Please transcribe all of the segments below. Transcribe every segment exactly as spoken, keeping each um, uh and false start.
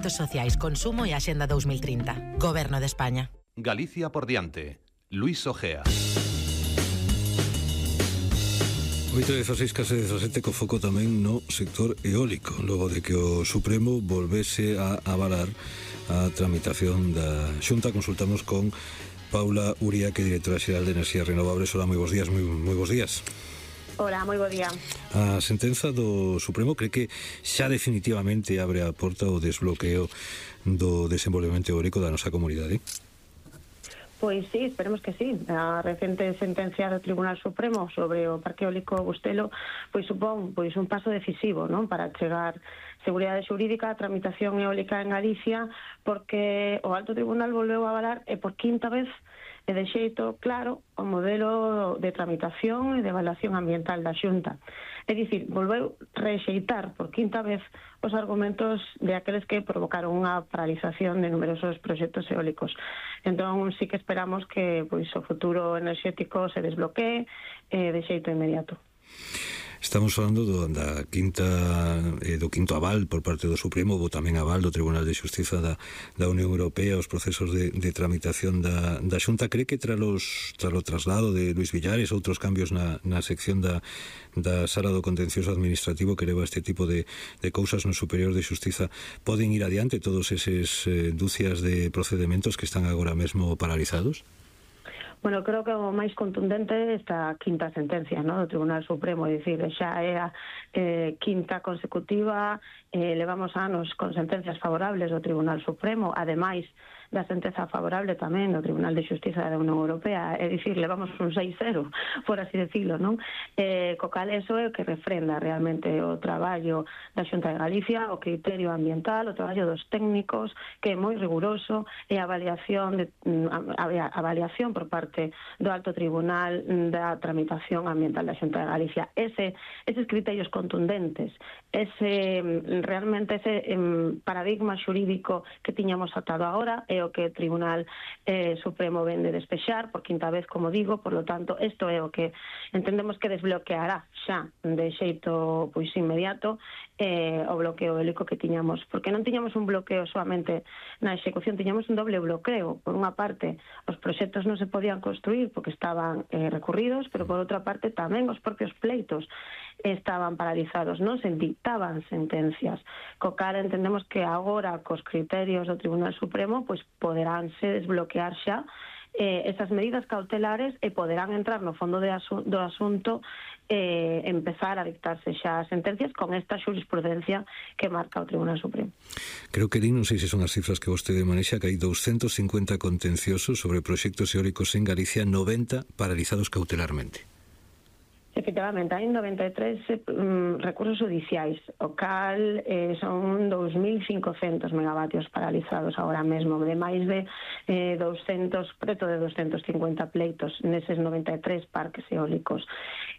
Sociais, consumo e Axenda dos mil trinta. Goberno de España. Galicia por diante. Luis Ojea. oito dezaseis, case dezasete, co foco tamén no sector eólico, logo de que o Supremo volvese a avalar a tramitación da Xunta. Consultamos con Paula Uría, que é directora xeral de Enerxías Renovables. Hola, moi bons días, moi, moi bons días. Hola, moi bo día. A sentenza do Supremo cree que xa definitivamente abre a porta o desbloqueo do desenvolvemento eólico da nosa comunidade? Pois sí, esperemos que sí. A recente sentencia do Tribunal Supremo sobre o Parque Eólico Bustelo pois supón pois un paso decisivo, non, para chegar seguridade xurídica a tramitación eólica en Galicia, porque o Alto Tribunal volveu a avalar e por quinta vez e de xeito claro o modelo de tramitación e de evaluación ambiental da Xunta. É dicir, volveu rexeitar por quinta vez os argumentos de aqueles que provocaron unha paralización de numerosos proxectos eólicos. Entón, sí que esperamos que pois, o futuro enerxético se desbloquee eh, de xeito inmediato. Estamos falando do, da quinta, eh, do quinto aval por parte do Supremo, ou tamén aval do Tribunal de Xustiza da, da Unión Europea, os procesos de, de tramitación da, da Xunta. Cree que tras o traslado de Luis Villares, outros cambios na, na sección da, da Sala do Contencioso Administrativo que leva este tipo de, de cousas no Superior de Xustiza, poden ir adiante todos eses eh, dúcias de procedementos que están agora mesmo paralizados? Bueno, creo que o máis contundente é esta quinta sentencia, ¿no?, do Tribunal Supremo, é dicir, xa é a eh, quinta consecutiva, eh, levamos anos con sentencias favorables do Tribunal Supremo, ademais da sentenza favorable tamén do Tribunal de Xustiza da Unión Europea, é dicir, levamos un seis cero, por así decirlo, non? Eh, co cal, eso é o que refrenda realmente o traballo da Xunta de Galicia, o criterio ambiental, o traballo dos técnicos, que é moi riguroso, e a avaliación, de, a, a avaliación por parte do Alto Tribunal da tramitación ambiental da Xunta de Galicia. Ese, eses criterios contundentes, ese realmente ese um, paradigma xurídico que tiñamos atado agora, é o que o Tribunal eh, Supremo ven de despexar por quinta vez, como digo. Por lo tanto, isto é o que entendemos que desbloqueará xa de xeito pois inmediato eh, o bloqueo eólico que tiñamos, porque non tiñamos un bloqueo solamente na execución, tiñamos un doble bloqueo. Por unha parte, os proxectos non se podían construir porque estaban eh, recurridos, pero por outra parte tamén os propios pleitos estaban paralizados, non se dictaban sentencias, co cal entendemos que agora cos criterios do Tribunal Supremo pois poderánse desbloquear xa eh, esas medidas cautelares e poderán entrar no fondo de asu do asunto e eh, empezar a dictarse xa sentencias con esta xurisprudencia que marca o Tribunal Supremo. Creo que din, non sei se son as cifras que vostede manexa, que hai doscientos cincuenta contenciosos sobre proxectos eólicos en Galicia, noventa paralizados cautelarmente. Efectivamente, hai noventa e tres um, recursos judiciais, o cal eh, son dous mil cincocentos megavatios paralizados agora mesmo, de máis de eh, doscientos, preto de doscientos cincuenta pleitos neses noventa e tres parques eólicos.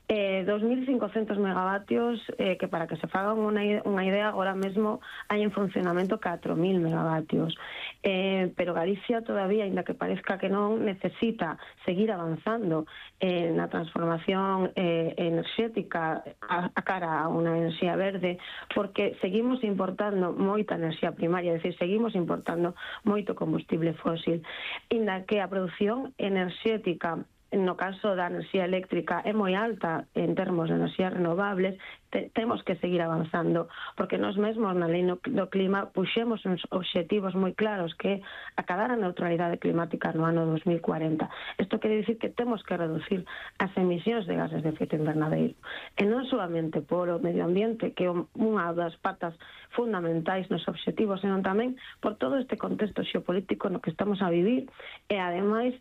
Eh, dos mil cincocentos megavatios eh, que, para que se fagan unha, unha idea, agora mesmo hai en funcionamento catro mil megavatios. Eh, pero Galicia todavía, ainda que parezca que non, necesita seguir avanzando eh, na transformación eh, enerxética a, a cara a unha enerxía verde, porque seguimos importando moita enerxía primaria, é dicir, seguimos importando moito combustible fósil, ainda que a produción enerxética no caso da enerxía eléctrica é moi alta en termos de enerxías renovables, te, temos que seguir avanzando, porque nós mesmos na lei no, do clima puxemos uns obxectivos moi claros, que é acabar a neutralidade climática no ano dos mil cuarenta. Isto quere dicir que temos que reducir as emisións de gases de efecto invernadeiro, e non solamente polo medio ambiente, que é unha das patas fundamentais nos obxectivos, senón tamén por todo este contexto xeopolítico no que estamos a vivir, e ademais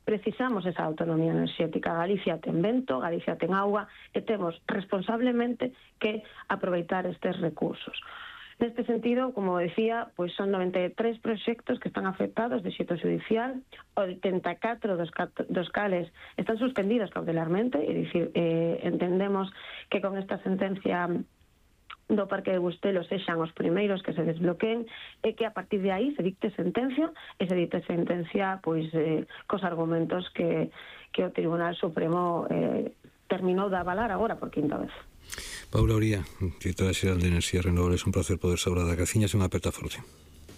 precisamos esa autonomía enerxética. Galicia ten vento, Galicia ten auga, e temos responsablemente que aproveitar estes recursos. Neste sentido, como decía, pois son noventa e tres proxectos que están afectados de xeito judicial, oitenta e catro dos, dos cales están suspendidos cautelarmente, é dicir, eh, entendemos que con esta sentencia do Parque de Bustelo sexan os primeiros que se desbloqueen, e que a partir de aí se dicte sentencia, e se dicte sentencia pois eh, cos argumentos que, que o Tribunal Supremo eh, terminou de avalar agora por quinta vez. Paula Uría, directora xeral de Enerxías Renovables, un placer poder saudar da Graciñas e unha aperta forte.